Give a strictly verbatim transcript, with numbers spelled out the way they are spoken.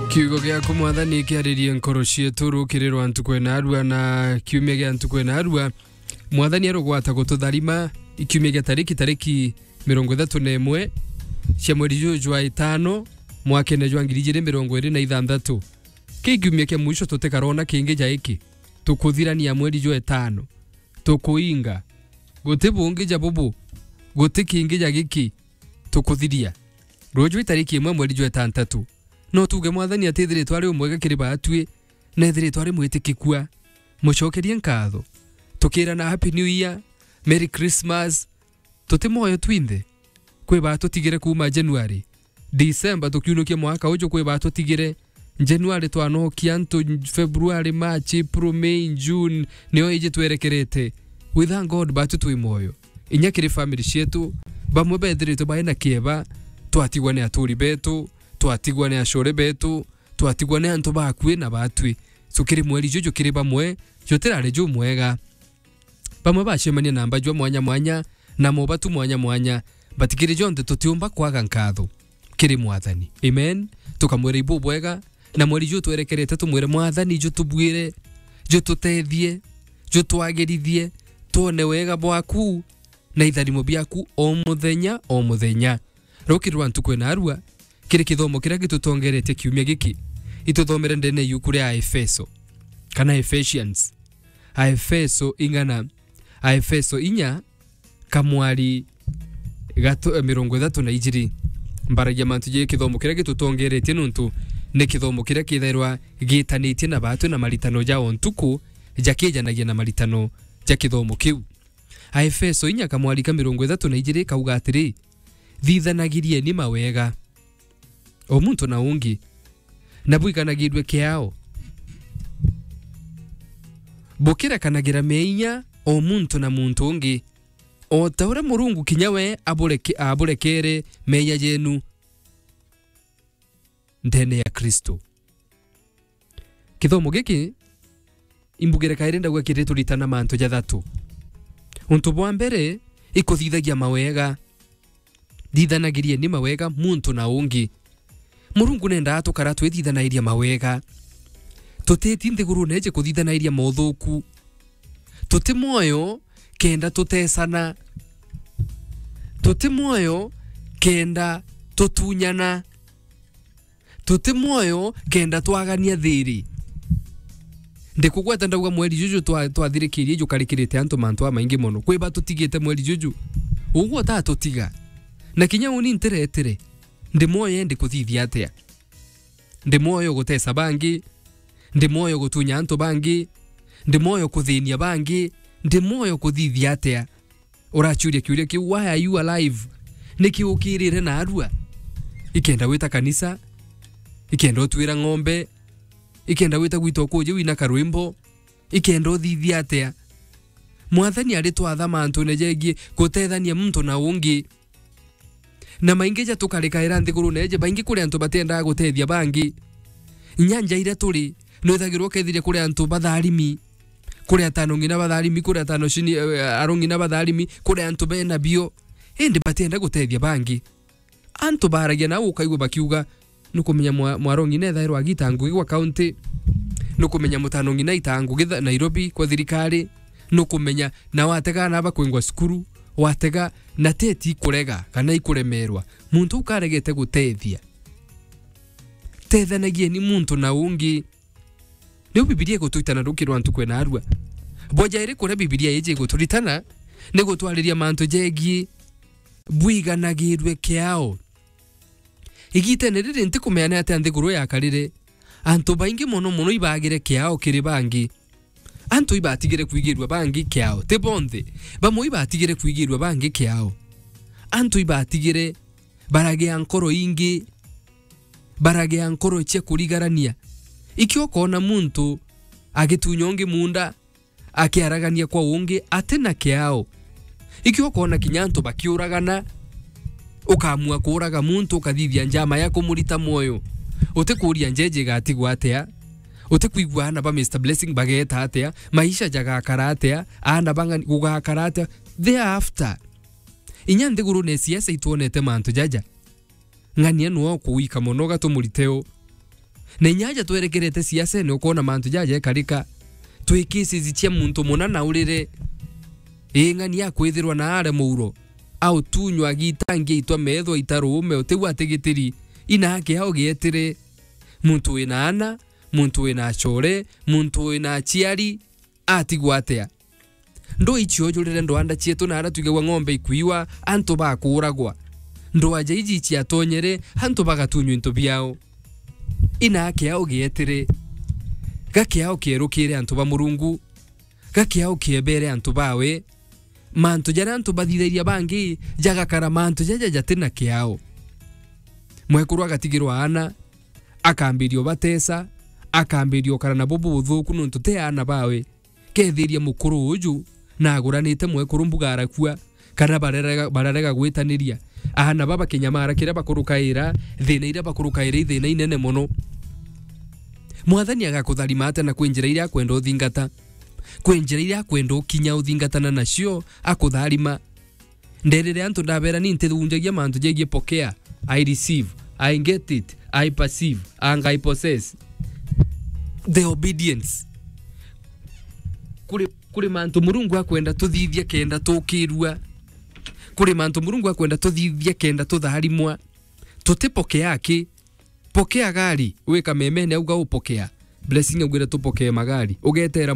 Kiugo giaku, Mwathani, kiaririe nkoro cietu rukirirwa ntuku ena arua na kiumia gia ntuku ena arua. Mwathani arugwata gututharima ikiumia gia tariki, tariki mirongo ithatu na imwe cia mweri juju jwa itano, mwakene jwa ngiri ijiri mirongo iri na ithanthatu. Ki kiumia kia mwisho tutikarona kingi ja iki. Tukuthirania mweri jwa itano. Tukuinga. Guti bungi ja bubu. Guti kingi ja giki. Tukuthiria. Ruju itariki imwe mweri jwa itantatu. No tuuge Mwathani atithiritwe ari umwega kiri baatui, na ethiritwe ari mwitikikua. Mucokerie nkatho. Tukirana Happy New Year, Merry Christmas. Tuti mwoyo twinthe? Kwi baatutigire kuuma January, December tukiunukia mwaka uju, kwi baatutigire. January twanokia antu, February, March, April, May, June, nio iji twerekerete. We thank God baatu twi mwoyo. Inya kiri family cietu, bamwe bethiritwe bai na kieba, twatigwa ni aturi betu, twatigwa ni acore betu, twatigwa ni antu bakui na baatui. So kiri mweri juju kiri bamwe, jutirari jumwega. Bamwe bacemania na mbajua mwanya mwanya, na mobatu mwanya mwanya, but kiri jonthe tutiumba kwaga nkatho kiri Mwathani. Amen. Tukamwira ibubwega, na mweri ju twerekerete tumwire, Mwathani, jutubwire, jututethie, jutwagirithie, twone wega bwaku na itharimo biaku o muthenya, o muthenya. Rukiri rwa ntuku ena arua, kiri kithomo kiria gitutongeretie kiumia giki, ituthomere ndene yuku ria Aefeso, kana Ephesians. Aefeso ing'ana, Aefeso inya, kamwari gatu-, eh, mirongo ithatu na ijiri. Mbaragia mantu ja kithomo kiria gitutongeretie nuntu ni kithomo kiria kithairwa gitanitie na baatu na maritano ja o ntuku, jakijanagia na maritano ja kithomo kiu. Aefeso inya kamwari ka mirongo ithatu na ijiri kauga atiri, "Thithanagirieni mawega o muntu na ungi, na bwiganagirue kiao, bukirekanagira meeyia o muntu na muntu ungi, o ta uria Murungu kinya we abureke-, aburekere meeyia jenu ndene ya Kristo." Kithomo giki imbugire kairi ndauga kiri turitana mantu jathatu. Untu bwa mbere, ikuthithagia mawega. Thithanagirieni mawega muntu na ungi. Murungu nendaa tukara twithithanairia mawega. Tutiti nthigurune iji kuthithanairia mothuku. Tuti mwoyo kenda tutesana. Tuti mwoyo kenda tutunyana. Tuti mwoyo kenda twagania thiri. Ndikugweta ndauga mweri juju twa-, twathirikirie jukarikirite antu mantu amaingi mono. Kwi batutigite mweri juju. Uguo utatutiga. Na kinya uni ntiretire. Ndi mwoyo indi kuthithia atia? Ndi mwoyo gutesa bangi? Ndi mwoyo gutunya antu bangi? Ndi mwoyo kuthinia bangi? Ndi mwoyo kuthithia atia? Urachuria kiuria kiu, "Why are you alive?" Niki ukirire na arua? Ikenda wita kanisa, ikenda utwira ng'ombe, ikenda wita gwita ukuji wina karwimbo, ikenda uthithia atia? Mwathani ari twatha mantune jegie gutethania muntu na ungi. Na maingi ja tukarikaira nthigurune iji, baingi kuri antu batiendaga gutethia bangi. Inya nja iria turi, nwithagirwa ukethiria kuri antu batharimi, kuri atano ng'ina batharimi, kuri atano cini, eh, aro ng'ina batharimi, kuri antu bena bio. Indi batienda gutethia bangi. Antu baragia nao ukaigua bakiuga, nukumenya mwa-, mwaro ng'ina ethairwa agita ngugi gwa kaunti, nukumenya mutano ng'ina aita ngugi tha-, Nairobi kwa thirikari, nukumenya na watega aana aba kwingwa cukuru, watega na teti ikurega kana ikuremerwa. Muntu ukaregete gutethia. Tethanagieni muntu na ungi. Niu Bibilia igutwitana ruki rwa ntuku ena arua. Bwa jairi kuria Bibilia iji iguturitana ni gutwariria mantu jegie bwiganagirue kiao. Igitene riri ntikumenya ni atia nthiguru yakarire, antu baingi mono mono ibagire kiao kiri bangi. Antu ibatigire kwigirua bangi kiao. Ti bonthe. Bamwe ibatigire kwigirua bangi kiao. Antu ibatigire baragea nkoro ingi, baragea nkoro cia kurigarania. Ikio ukona muntu agitunya ungi munda, akiaragania kwa ungi, ati na kiao. Ikio ukona kinya antu bakiuragana, ukamua kuuraga muntu, ukathithia njama ya kumurita mwoyo. Utikuuria njeje igatigwa atia, utikwigua aana ba Mister Blessing bageeta atia, maisha jagakara atia, aana bang'ani gugakara atia. Thereafter, inya nthigurune siasa itwonete mantu jaja. Ng'ania nwe ukuwika mono ugatumurite u. Na inya aja twerekerete siasene, ukoona mantu jaja ekarika. Twi cases cia muntu muna na urire. Ii ng'ani akwithirwa na are muuro, autunywa agitangia itwa meethwa itaruume, utiu atigitiri, ina ake au gietire. Muntu wina ana, muntu wina acore, muntu wina aciari, atigwa atia? Ndwaa iciojurire ndwanda cietu na aria twigagua ng'ombe ikwiwa, antu bakuuragwa. Ndwaa ja iji ciatonyere, antu bagatunywa into biao. Ina ake au gietire. Ga kiao kierukire antu ba Murungu. Ga kiao kiebere antu bawe. Mantu jaria antu bathithagia bangi, jagakara mantu jaja jati na kiao. Mwekuru agatigirwa aana, akambiria ubatesa, akambiria ukara nabo bubuthuku nontu ti aana bawe. Kethiria mukuru uju na aguranite mwekuru mbuga arakua, kana bararega, bararega gwitaniria. Aana baba kinyamara kiria bakurukaira, thina iria bakurukaira i thina inene mono. Mwathani agakutharima atia na kwi njira iria akwenda uthingata? Kwi njira iria akwenda ukinya uthingatana nacio akutharima. Nderire antu ndabera ni ntithunjagia mantu jegie pokea, I receive, I get it, I perceive, and I possess. The obedience. Kuri, kuri mantu Murungu akwenda tuthithia kenda tukirua. Kuri mantu Murungu akwenda tuthithia kenda tutharimwa. Tutipokea ki? Pokea gari, wika memene auga upokea. Blessing augire tupokee magari. Ugetera